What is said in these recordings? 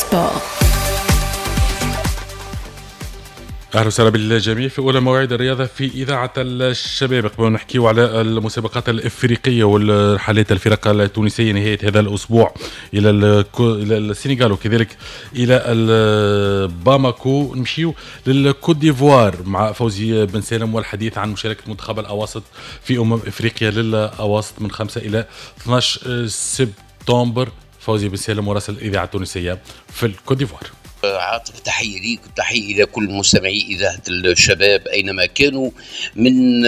Sport. اهلا وسهلا بالجميع في اولى مواعيد الرياضة في اذاعة الشباب. قبل نحكيو على المسابقات الافريقية والرحلات الفرق التونسية نهاية هذا الاسبوع الى السنغال وكذلك الى باماكو، نمشيو للكوت ديفوار مع فوزي بن سالم والحديث عن مشاركة منتخب الاواسط في افريقيا للاواسط من 5 الى 12 سبتمبر. فوزي بن سالم مراسل الاذاعة التونسية في الكوت ديفوار. عاطف، تحية ليك وتحية إلى كل مستمعي إذاعة الشباب أينما كانوا من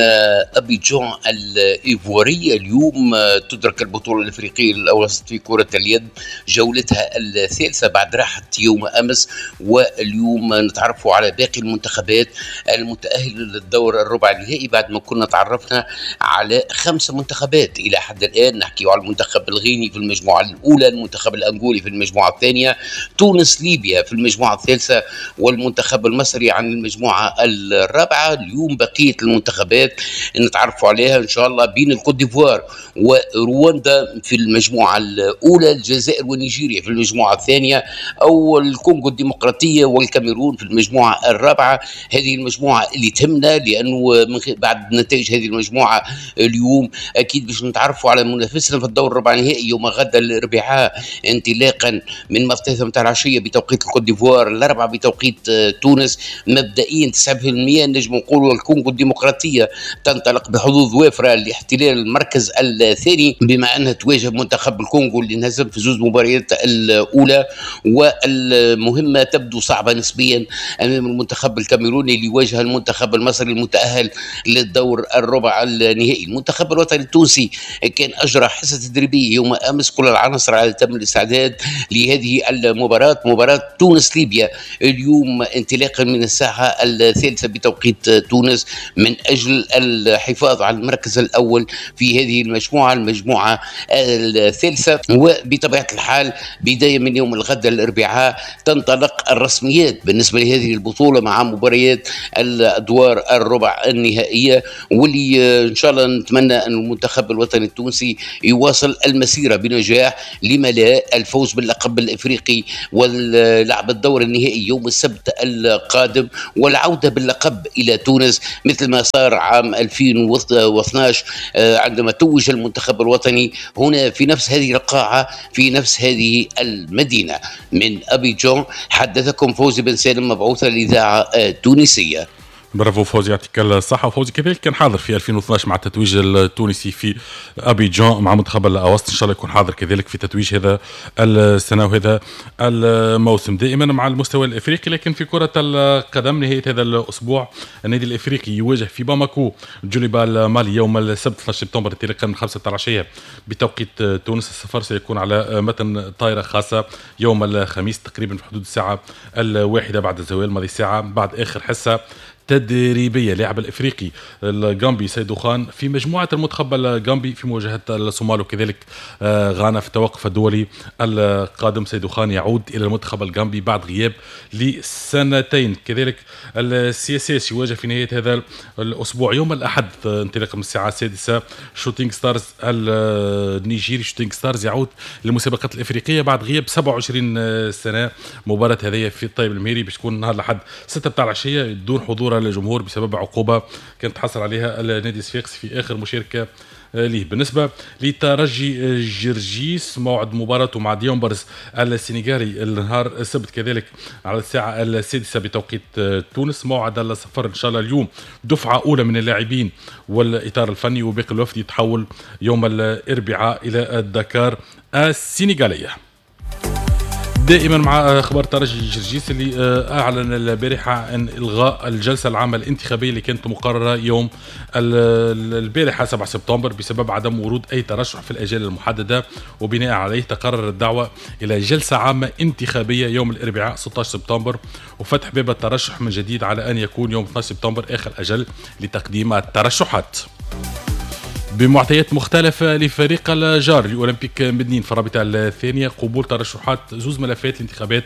أبيجان الإيفوارية. اليوم تدرك البطولة الإفريقية للأوسط في كرة اليد جولتها الثالثة بعد راحة يوم أمس، واليوم نتعرف على باقي المنتخبات المتأهلة للدور الربع النهائي بعد ما كنا تعرفنا على 5 منتخبات إلى حد الآن. نحكي على المنتخب الغيني في المجموعة الأولى، المنتخب الأنغولي في المجموعة الثانية، تونس ليبيا في المجموعة الثالثة، والمنتخب المصري عن المجموعة الرابعة. اليوم بقية المنتخبات نتعرفوا عليها إن شاء الله بين الكوت ديفوار ورواندا في المجموعة الأولى، الجزائر ونيجيريا في المجموعة الثانية، أو الكونغو الديمقراطية والكاميرون في المجموعة الرابعة. هذه المجموعة اللي تهمنا لأنه من بعد نتائج هذه المجموعة اليوم أكيد باش نتعرفوا على منافسنا في الدور الربع النهائي يوم غدا الأربعاء انطلاقا من 3 متاع العشية بتوقيت الكوت ديفوار، 4 بتوقيت تونس. مبدئيا 9% نجم نقولوا الكونغو الديمقراطية تنطلق بحظوظ وافرة لاحتلال المركز الثاني بما أنها تواجه منتخب الكونغو اللي انهزم في 2 مباريات الأولى، والمهمة تبدو صعبة نسبيا أمام المنتخب الكاميروني اللي واجه المنتخب المصري المتأهل للدور الربع النهائي. المنتخب الوطني التونسي كان أجرى حصة تدريبية يوم أمس، كل العناصر على تم الاستعداد لهذه المباراة، مباراة تونس ليبيا اليوم انطلاقا من الساعة 3 بتوقيت تونس، من أجل الحفاظ على المركز الأول في هذه المجموعة، المجموعة الثالثة. وبطبيعة الحال بداية من يوم الغد الأربعاء تنطلق الرسميات بالنسبة لهذه البطولة مع مباريات الأدوار الربع النهائية، واللي إن شاء الله نتمنى أن المنتخب الوطني التونسي يواصل المسيرة بنجاح، لما لا الفوز باللقب الإفريقي واللعب الدور النهائي يوم السبت القادم والعودة باللقب إلى تونس مثل ما صار عام 2012 عندما توج المنتخب الوطني هنا في نفس هذه القاعة في نفس هذه المدينة. من أبيجان حدثكم فوزي بن سالم مبعوث الإذاعة التونسية. برافو فوزي، يعطيك الصحة. وفوزي كذلك كان حاضر في 2012 مع التتويج التونسي في أبيجان مع منتخب الأواسط، إن شاء الله يكون حاضر كذلك في تتويج هذا السنة وهذا الموسم. دائما مع المستوى الإفريقي لكن في كرة القدم، نهاية هذا الأسبوع النادي الإفريقي يواجه في باماكو جوليبا المالي يوم السبت 12 سبتمبر انطلاقا من 5 العشية بتوقيت تونس. السفر سيكون على متن طائرة خاصة يوم الخميس تقريبا في حدود الساعة 1 بعد الزوال، ماضي ساعة بعد آخر حصة تدريبية. لاعب الافريقي الغامبي سيدو خان في مجموعة المنتخب الغامبي في مواجهة الصومال وكذلك غانا في التوقف الدولي القادم. سيدو خان يعود الى المنتخب الغامبي بعد غياب لسنتين. كذلك ال CSS يواجه في نهاية هذا الاسبوع يوم الاحد انطلاقا من الساعة 6 شوتينغ ستارز النيجيري. شوتينغ ستارز يعود للمسابقات الافريقية بعد غياب 27 سنة. مباراة هذه في الطيب المهيري باش تكون نهار الاحد 6 بتاع العشية دون حضور الجمهور بسبب عقوبة كانت تحصل عليها النادي الصفاقسي في آخر مشاركة ليه. بالنسبة لترجي جرجيس موعد مباراته مع ديومبرز السنغالي النهار السبت كذلك على الساعة 6 بتوقيت تونس. موعد السفر إن شاء الله اليوم دفعة أولى من اللاعبين والإطار الفني وباقي الوفد يتحول يوم الأربعاء إلى دكار السنغالية. دائما مع اخبار ترجي جرجيس اللي اعلن البارحة عن الغاء الجلسة العامة الانتخابية اللي كانت مقررة يوم البارحة 7 سبتمبر بسبب عدم ورود اي ترشح في الاجال المحددة، وبناء عليه تقرر الدعوة الى جلسه عامة انتخابية يوم الاربعاء 16 سبتمبر، وفتح باب الترشح من جديد على ان يكون يوم 12 سبتمبر اخر اجل لتقديم الترشحات. بمعطيات مختلفة لفريق الجار لأولمبيك مدنين في الرابطة الثانية، قبول ترشحات زوز ملفات الانتخابات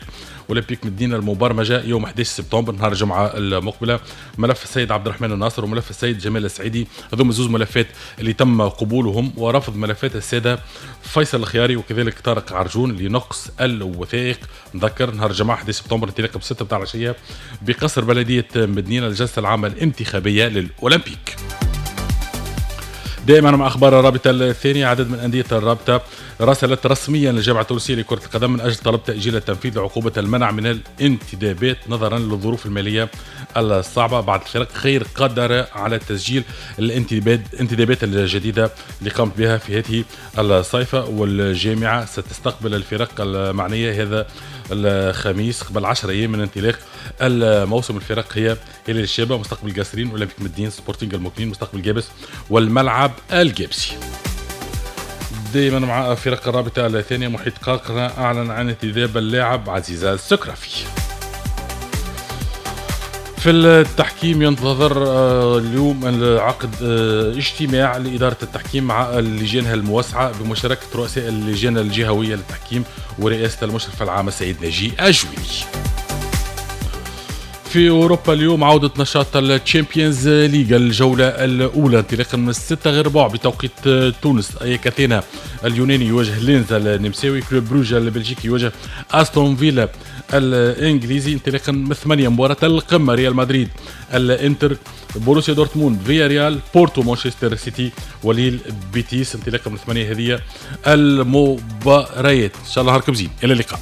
أولمبيك مدنين المبرمجة يوم 11 سبتمبر نهار الجمعة المقبلة، ملف السيد عبد الرحمن الناصر وملف السيد جمال السعيدي، هذوما زوز ملفات اللي تم قبولهم، ورفض ملفات السادة فيصل الخياري وكذلك طارق عرجون لنقص الوثائق. نذكر نهار الجمعة 11 سبتمبر انطلاقا ب 6 متاع العشية بقصر بلدية مدنين الجلسة العامة الانتخابية للأولمبيك. دائما مع اخبار الرابطة الثانية، عدد من اندية الرابطة راسلت رسميا للجامعة التونسية لكرة القدم من اجل طلب تاجيل التنفيذ لعقوبة المنع من الانتدابات نظرا للظروف المالية الصعبة. بعض الفرق غير قادرة على تسجيل الانتدابات الجديدة اللي قامت بها في هذه الصيفه، والجامعة ستستقبل الفرق المعنية هذا الخميس قبل 10 ايام من انطلاق الموسم. الفرق هي هلال الشابة، مستقبل قاسرين، اولمبيك مدين، سبورتينغ المكنين، مستقبل جابس، والملعب الجابسي. دائما مع فرق الرابطة الثانية، محيط قاقرة أعلن عن انتداب اللاعب عزيز السكرافي. في التحكيم ينتظر اليوم عقد اجتماع لإدارة التحكيم مع اللجان الموسعة بمشاركة رؤساء اللجان الجهوية للتحكيم ورئاسة المشرف العام السيد ناجي أجويني. في أوروبا اليوم عودة نشاط ال Champions League الجولة الأولى انطلاقا من 5:45 بتوقيت تونس. أياك أثينا اليوناني يواجه لينز النمساوي، كلوب بروج البلجيكي يواجه أستون فيلا الإنجليزي. انطلاقا من 8 مباراة القمة، ريال مدريد الإنتر، بوروسيا دورتموند فيا ريال، بورتو مانشستر سيتي، وليل بيتيس. انطلاقا من 8 هذه المباريات. إن شاء الله نهاركم زين، إلى اللقاء.